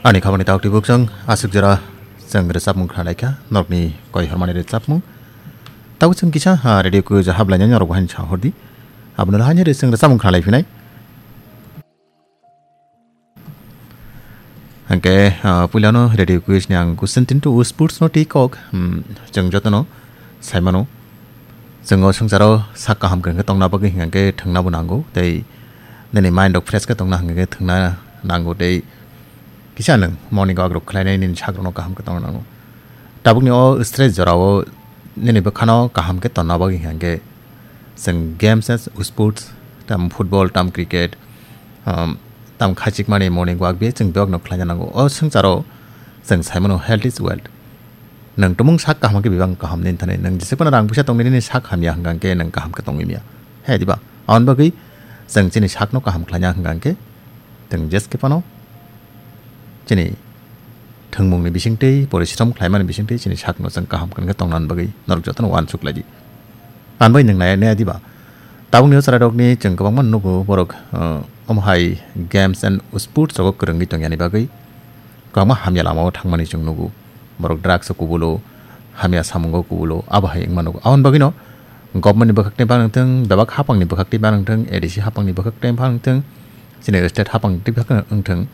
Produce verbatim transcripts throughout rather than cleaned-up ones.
Ani khabani tauk tibuk chwng aswk jora chwng rwchapmung khna laikha, norokni koi hormani rwchapmung. Tabuk chwng kisa, ha, radio kuyo ja hablainai norok bahai sa hordi. Abono lahai ni re chwng rwchapmung khna laiphinai. Hwnkhe, ah, puilano radio quiz ni ang question tin to sports no twi kok, hmm, chwng jotono saimano. Chwng o swngcharo sak kaham khe tongna bagwi hwnkhe thwngna bo nango, tei nini mind rok fresh khe tongna hwnkhe thwngna nango, tei kisa nwng morning walk rok khlainai nini sak rokno kaham khe tongna nango. Tabukni o stress jorao nini bwkhano kaham khe tonna bagwi hwnkhe chwng games as sports, tam football, tam cricket, um, tam khachikmani morning walk be chwng bebakno khlaina nango. O swngcharo chwng saimano health is wealth. Nwng tumung sak kaham khe bebak kaham nini thani. Nwng jese phano rang puisa tongwi nini sak hamya hwnkha khe nwng kaham khe tongwi maya. He diba? Aboni bagwi chwng chini sakno kaham khlaina hwnkha khe chwng jeske phano chini thwngmungni bisingtwi, porishrom khlaimani bisingtwi chini sakno chwng kaham khe tongna bagwi norok jotono uansuk laidi. Anbai nwng nai nai diba? Tabukni o chwrairokni chwng kwbangma nugo borok, uh, omo hai games and sports rogo kwrwngwi tongyani bagwi kwbangma hamya lamao thangmani chwng nugo. Borok drugs o kubulo, hamya samungo kubulo, abo hai wngma nugo. Aboni bagwino government ni bwkhak tei bang wngthwng, bebak hapang ni bwkhak tei bang wngthwng, A D C hapang ni bwkhak tei bang wngthwng, chini state hapang tei bwkhak wngthwng,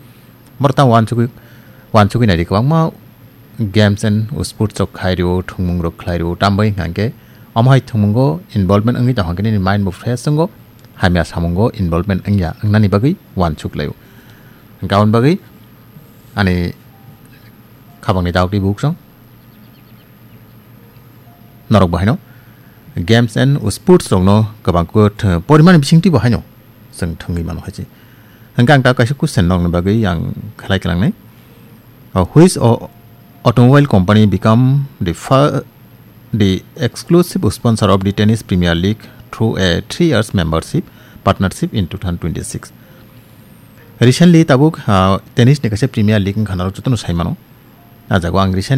borok tamo uansugwi, uansugwi naidi kwbangma games and sports rok khai rio, thwngmung rok khlai rio, tambai hwnkha khe omo hai thwngmungo involvement wngwi tong khe nini mind bo fresh wngo, hamya samungo involvement wngya wngnani bagwi uansuk laio. Hwnkhe aboni bagwi ani khabangni dauk tei buk chwng norok bo haino games and sports rokno kwbang khe th-, porimani bisingtwi bo haino chwng thwngwi mano hai se. Hwnkhe ang ta kaisa question nokni bagwi ang khlai klangnai. Uh, which o-, automobile company become the fir-, the exclusive sponsor of the Tennis Premier League through a three years membership, partnership in two thousand twenty-six? Recently tabuk, uh, tennis ni kaisa Premier League wngkha norok jotono sai mano. A jago ang recently